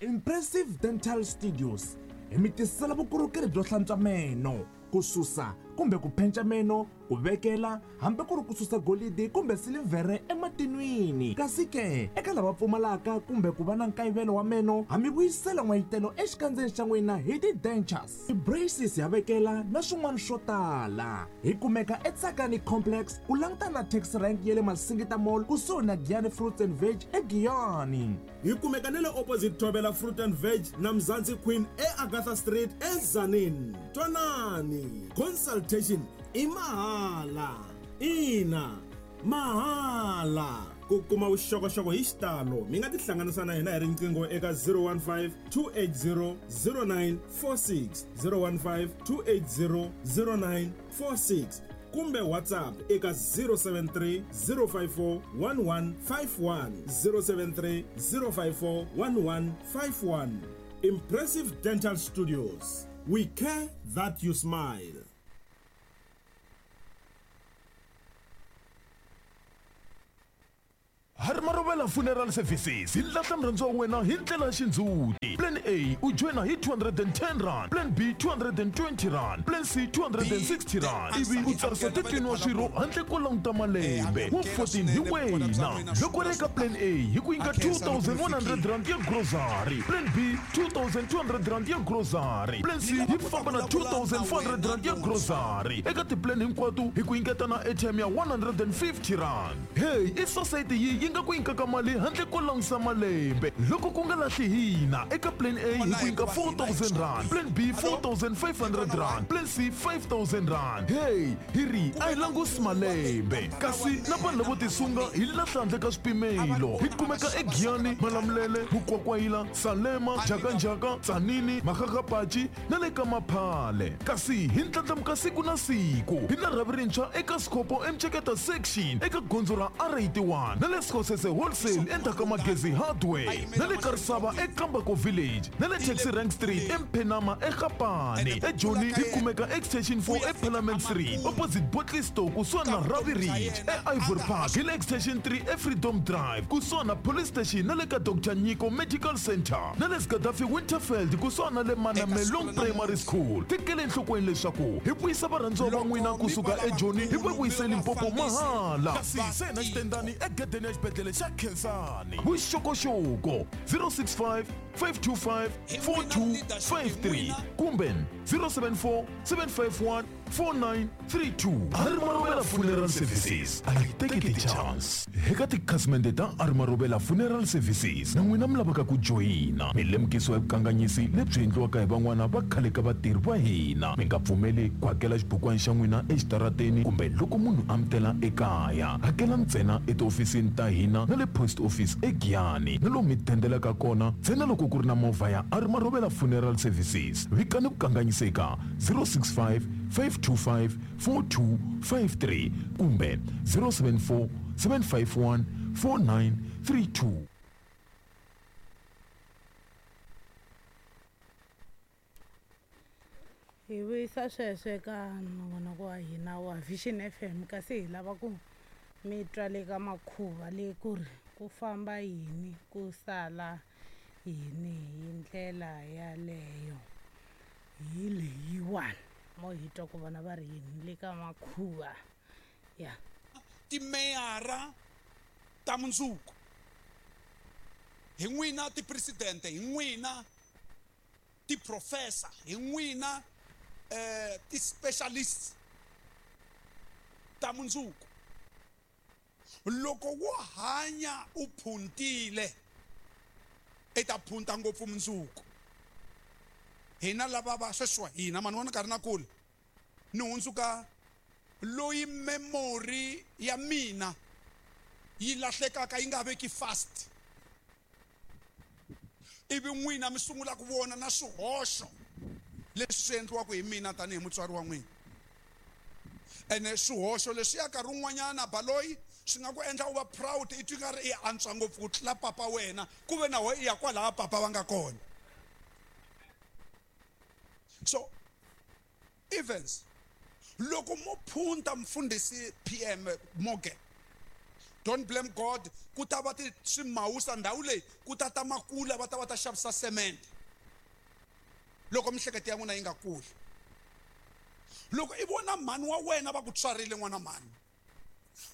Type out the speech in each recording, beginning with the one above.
Impressive Dental Studios hi mi tisela vukorhokeri byo hlantswa meno, ku susa kumbe ku phenca meno, ku vekela hambi ku ri ku susa golidi kumbe silivhere ematinwini. Kasi ke, eka lava pfumalaka kumbe ku va na nkayivelo wa meno, ha mi vuyisela n'wayitelo exikandzeni xa n'wina hi ti-dentures, ti-braces ha vekela na swin'wana swo tala. Hi kumeka eTsakani Complex ku langutana na taxi rank ya le Masingita Mall kusuhi na Giyani Fruits and Veg eGiyani. Hi kumeka na le opposite Thobela Fruit and Veg na Mzansi Queen eAgatha Street eTzaneen. Twanani, consultation i mahala. Ina, mahala. Ku kuma vuxokoxoko hi xitalo mi nga tihlanganisa na hina hi riqingho eka 015 280 0946, 015 280 0946 kumbe WhatsApp eka 073 054 1151, 073 054 1151. Impressive Dental Studios, we care that you smile. Harmarovela Funeral Services hi lahla murhandziwa wa wena hi ndlela ya xindzhuti. Plan A u joyina hi 210 rand, Plan B 220 rand, Plan C 260 rand ivi u tsarisa 13 wa swirho handle ko languta malembe. Wa 14 hi wena. Loko ri eka Plan A hi ku nyika 2100 rand ya grocery, Plan B 2200 rand ya grocery, Plan C yi famba na 2400 rand ya grocery. Eka ti-plan hinkwato hi ku nyiketa na airtime ya 150 rand. Hey, i society yi yi nga ku nyikaka mali handle ko langusa malembe. Loko ku nga lahli hina, eka Plan A hi ku nyika 4000 rand, Plan B 4500 rand, Plan C 5000 rand. Hey, hi ri a hi langusi malembe. Kasi na vanhu lavo tisunga hi lahla handle ka swipimelo. Hi kumeka eGiyani, Malamulele, Mukwakwayila, Salema, Njhakanjhaka, Tzaneen, Makgakgapachi na le ka Maphale. Kasi hi ndlandlamuka siku na siku. Hi na rhavi rintshwa eka Sikhopo eMceketa Section eka gondzo ra R81 na le Sikosese Wholesale endzhaku ka Magezi Hardware na le Karisava eKambako Village na le Taxi Rank Street eMphenama eGapane. EJoni hi kumeka Extension 4 eParliament Street opposite Bottle Store kusuhani na Ravi Ridge. E-Ivory Park hi le Extension 3 eFreedom Drive kusuhani na Police Station na le ka Dr Nyiko Medical Center na le Gaddafi Winterfeld kusuhani na le Manamelong Primary School. Tekela enhlokweni leswaku hi vuyisa varhandziwa va n'wina kusuka eJoni hi va vuyise Limpopo mahala. Kasi se na xitendani egedeni ya xibedhlele xa Khensani. Vuxokoxoko 065 525 4253 kumbe 074 751 4932. Armarovela Funeral Services a yi teki ti-chance. Eka tikhasimende ta Armarovela Funeral Services na n'wina mi lavaka ku joyina, mi lemukisiwa hi vukanganyisi lebyi endliwaka hi van'wana va khale ka vatirhi va hina. Mi nga pfumeli ku hakela xibukwana xa n'wina exitarateni kumbe loko munhu a mi tela ekaya. Hakela ntsena etihofisini ta hina na le post office eGiyani na lomu mi dendelaka kona ntsena loko ku ri na movha ya Armarovela Funeral Services. Vikani vukanganyisi eka 065 525 4253 kumbe 074 751 4932. Hi vuyisa sweswo eka nongonoko wa hina wa Vision FM kasi hi lava ku mi twa le ka makhuva le ku ri ku famba yini ku sala yini hi ndlela yaleyo hi leyiwani mo hi twa ku vona va ri yini le ka makhuva ya Timeyara ta mundzuku hi n'wina, tipresidente hi n'wina, tiprofessor hi n'wina, ti-specialists ta mundzuku. Loko wo hanya u phuntile, i ta phunta ngopfu mundzuku. Hina lava va sweswiwa hina mani vona nkarhi na kule ni hundzuka loyi memory ya mina yi lahlekaka yi nga veki fast, ivi n'wina mi sungula ku vona na swihoxo leswi swi endliwaka hi mina tanihi mutswari wa n'wina. Ene swihoxo leswiya nkarhi wun'wanyana baloyi swi nga ku endla u va proud, i twi nga ri i antswa ngopfu ku tlula papa wena, ku ve na wena i ya kwalaha papa va nga kona. So Evans, loko mo phunta mfundhisi PM Morgan, Don't blame God. Ku ta va swimawusa ndhawu leyi ku ta ta makula va ta va ta xavisa cement. Loko mihleketo ya n'wina yi nga kuli. Loko i vona mhani wa wena va ku tswarile n'wana mhani.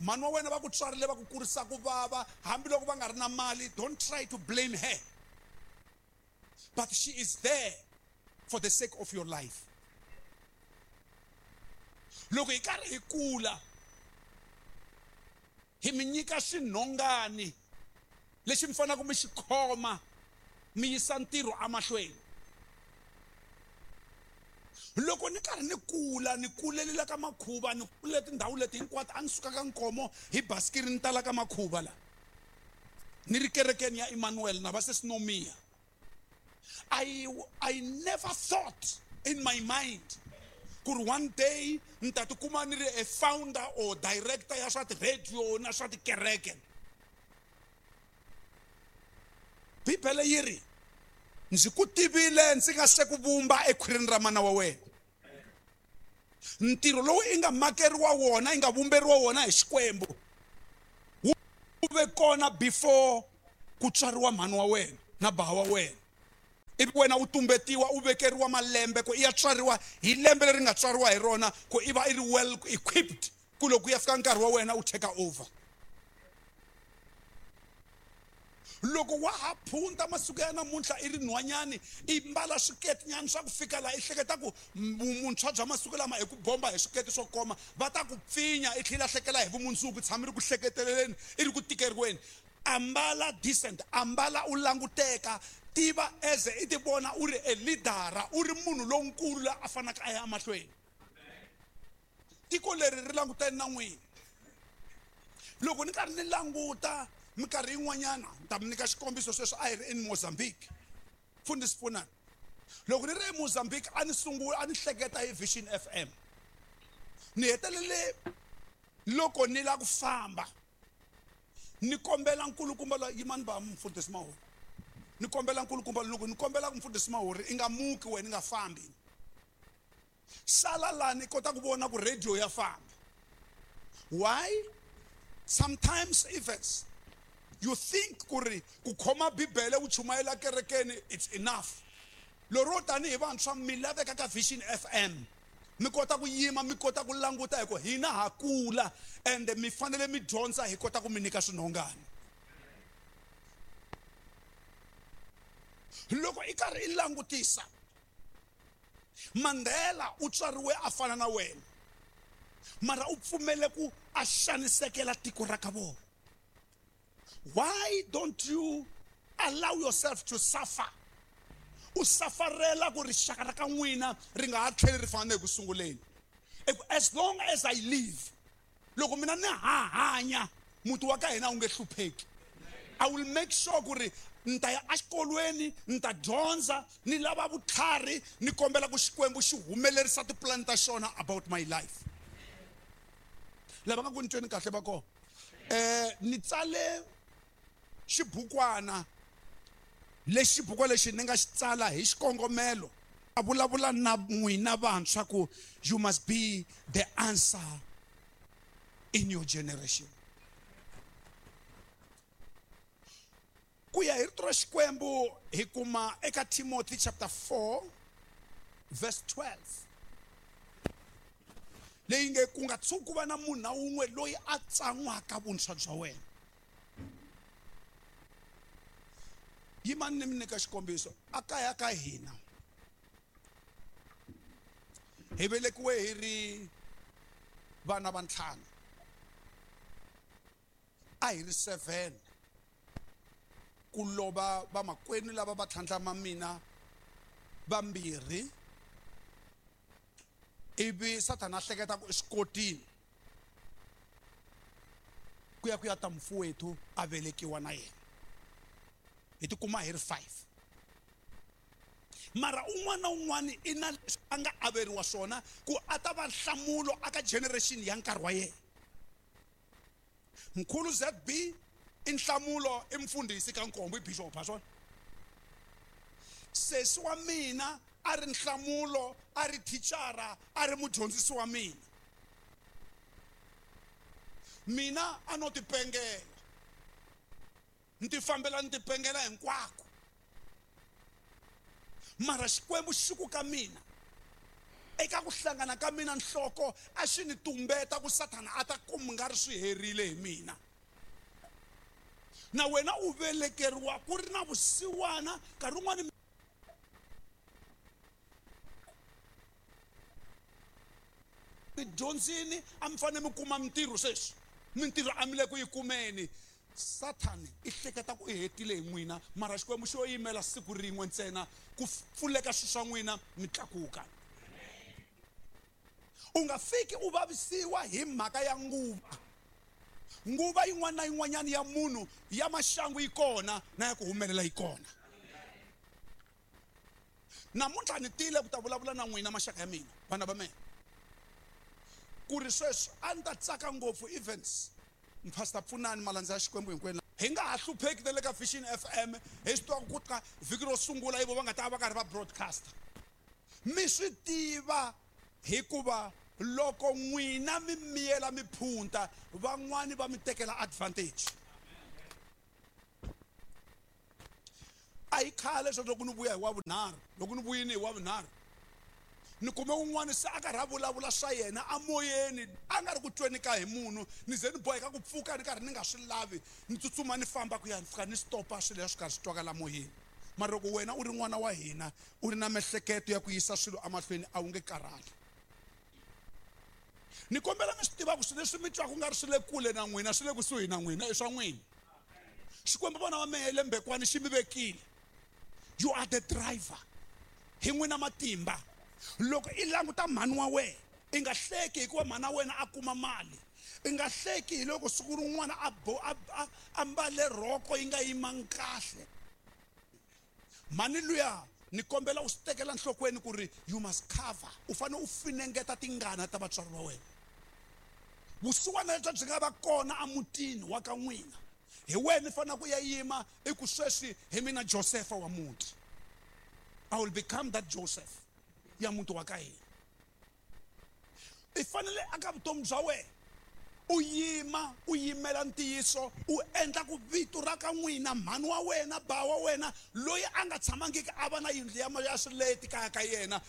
Mhani wa wena va ku tswarile va ku kurisa ku vava hambiloko va nga ri na mali, don't try to blame her. But she is there for the sake of your life. Loko hi karhi hi kula hi mi nyika xinhongani lexi mi faneleke mi xi khoma mi yisa ntirho emahlweni. Loko ni karhi ni kula ni kulelela ka makhuva ni kule tindhawu leti hinkwato a ni suka ka Nkomo hi basikiri ni tala ka makhuva la ni ri kerekeni ya Emmanuel na va se Sinomia. I never thought in my mind ku ri one day ni ta tikuma ni ri a founder or director ya swa ti-radio na swa tikereke. Bibele yi ri ndzi ku tivile ndzi nga se ku vumba ekhwirini ra mana wa wena. Ntirho lowu i nga makeriwa wona i nga vumberiwa wona hi Xikwembu wu ve kona before ku tswariwa mhani wa wena na bava wa wena. Ivi wena u tumbetiwa u vekeriwa malembe ku i ya tswariwa hi lembe leri nga tswariwa hi rona ku i va i ri well equipped ku loko ku ya fika nkarhi wa wena u take over. Loko wa ha phunta masiku ya namuntlha i ri nhwanyani i mbala swiketinyana swa ku fika laha i hleketa ku muntshwa bya masiku lama hi ku bomba hi swiketi swo koma va ta ku pfinya i tlhela hlekela hi vumundzuku tshama ri ku hleketeleleni i ri ku tikeriweni. Ambala decent, ambala u languteka, tiva as i ti vona u ri a leader, u ri munhu lonkulu la a fanaka a ya emahlweni. Tiko leri ri langutene na n'wina. Loko ni karhi ni languta minkarhi yin'wanyana ni ta mi nyika xikombiso sweswi a hi ri in Mozambique. Mfundhisi pfunani. Loko ni ri eMozambique a ni sungula a ni hleketa hi Vision FM. Ni hetelele loko ni lava ku famba ni kombela nkulukumba loyi yimani va mfundhisi Mahori. Ni kombela nkulukumba loko ni kombela ku mfundhisi Mahori i nga muki wena i nga fambi. Sala lani kota ku vona ku radio ya famba. Why? Sometimes events you think ku ri ku khoma Bibele u chumayela kerekeni it's enough. Lero tanihi vantshwa mi laveka ka Vision FM. Mi kota ku yima mi kota ku languta hi ku hina ha kula and mi fanele mi dyondza hi kota ku mi nyika swinhongani. Loko i karhi i langutisa Mandela u tswariwe a fana na wena mara u pfumele ku a xanisekela tiko ra ka vona. Why don't you allow yourself to suffer? U safarela ku rixaka ra ka n'wina ri nga ha tlheli ri fana na eku sunguleni. As long as I live, loko mina ni ha hanya muti wa ka hina wu nge hlupheki. I will make sure ku ri ni ta ya exikolweni ni ta dyondza ni lava vutlhari ni kombela ku Xikwembu xi humelerisa tipulani ta xona about my life. Lava nga ku ni tweni kahle va kona. Ni tsale xibukwana lexi xibukwana lexi ni nga xi tsala hi xikongomelo a vulavula na n'wina vantshwa ku you must be the answer in your generation. Ku ya hi rito ra Xikwembu hi kuma eka Timothy chapter 4 verse 12 leyi nge ku nga tshuki ku va na munhu na wun'we loyi a tsan'waka vuntshwa bya wena. Yimani ni mi nyika xikombiso. A kaya ka hina hi velekiwe hi ri vana va ntlhanu, a hi ri 7 ku lova vamakwenu lava va tlhandlama mina vambirhi ivi Sathana a hleketa ku i swi kotile ku ya ku ya ta mfuwethu a velekiwa na yena. Hi tikuma hi ri 5. Mara un'wana na un'wana i na leswi a nga averiwa swona ku a ta va nhlamulo aka generation ya nkarhi wa yena. Mkhulu ZB i nhlamulo i mfundhisi ka Nkombo i bishop ha swona. Sesi wa mina a ri nhlamulo a ri thichara a ri mudyondzisi wa mina. Mina a no tipengela. Ni tifambela ni tipengela hinkwako. Mara Xikwembu xi ku ka mina eka ku hlangana ka mina nhloko a xi ni tumbeta ku Sathana a ta kuma nga ri swi herile hi mina. Na wena u velekeriwa ku ri na vusiwana nkarhi wun'wani mi dyondzini a mi fanele mi kuma mintirho sweswi mintirho a mi le ku yi kumeni. Sathane i hleketa ku i hetile hi n'wina mara Xikwembu xo yimela siku rin'we ntsena ku pfuleka swilo swa n'wina mi tlakuka. U nga fiki u vavisiwa hi mhaka ya nguva. Nguva yin'wana na yin'wanyana ya munhu ya maxangu yi kona na ya ku humelela yi kona. Namuntlha ni tile ku ta vulavula na n'wina maxaka ya mina vana va mina ku ri sweswi a ni ta tsaka ngopfu events Pastor Pfunani malandza ya Xikwembu hinkwenu hi nga ha hlupheki na le ka Vision FM hi swi tiva ku ka vhiki ro sungula ivo va nga ta va karhi va broadcast. Mi swi tiva hikuva loko n'wina mi miyela mi phunta van'wani va mi tekela advantage. A hi khale sweswo loko ni vuya hi wa vunharhu loko ni vuyini hi wa vunharhu ni kume un'wana se a karhi a vulavula swa yena amoyeni a nga ri ku tweni ka hi munhu ni ze ni boheka ku pfuka ni karhi ni nga swi lavi ni tsutsuma ni famba ku ya ni fika ni stopa swilo leswi karhi swi twakala moyeni. Mara loko wena u ri n'wana wa hina u ri na miehleketo ya ku yisa swilo emahlweni a wu nge karhali. Ni kombela mi swi tiva ku swilo leswi mi twaka ku nga ri swi le kule na n'wina swi le kusuhi na n'wina i swa n'wina. Xikwembu vona va mehe lembekwani xi mi vekile. You are the driver. Hi n'wina matimba. Loko i languta mhani wa wena i nga hleki hikuva mhani wa wena a kuma mali. I nga hleki hi loko siku rin'wana a ambale rhoko yi nga yimangi kahle. Mhani luya ni kombela u swi tekela nhlokweni ku ri you must cover. U fanele u finengeta tingana ta vatswari va wena. Vusiwana lebyi byi nga va kona emutini wa ka n'wina hi wena i fanele ku ya yima i ku sweswi hi mina Joseph wa muti. I will become that Joseph ya muti wa ka hina. I fanele aka vutomi bya wena u yima u yimela ntiyiso u endla ku vito ra ka n'wina mhani wa wena ba wa wena loyi a nga tshamangiki a va na yindlu ya swileti kaya ka yena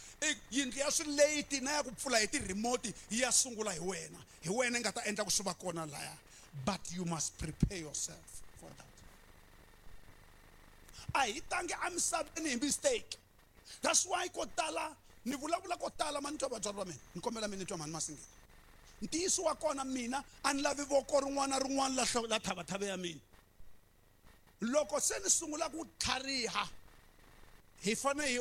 yindlu ya swileti na ya ku pfula hi ti-remote yi ya sungula hi wena hi wena i nga ta endla ku swi va kona laya. But you must prepare yourself for that. A hi tangi emisaveni hi mistake. That's why ko tala ni vulavula ko tala ma ni twa vatswari va mina ni kombela mi ni twa mhani Masingita. Ntiyiso wa kona mina a ni lavi voko rin'wana na rin'wana la thavathavhe ya mina. Loko se ni sungula ku tlhariha hi fanele hi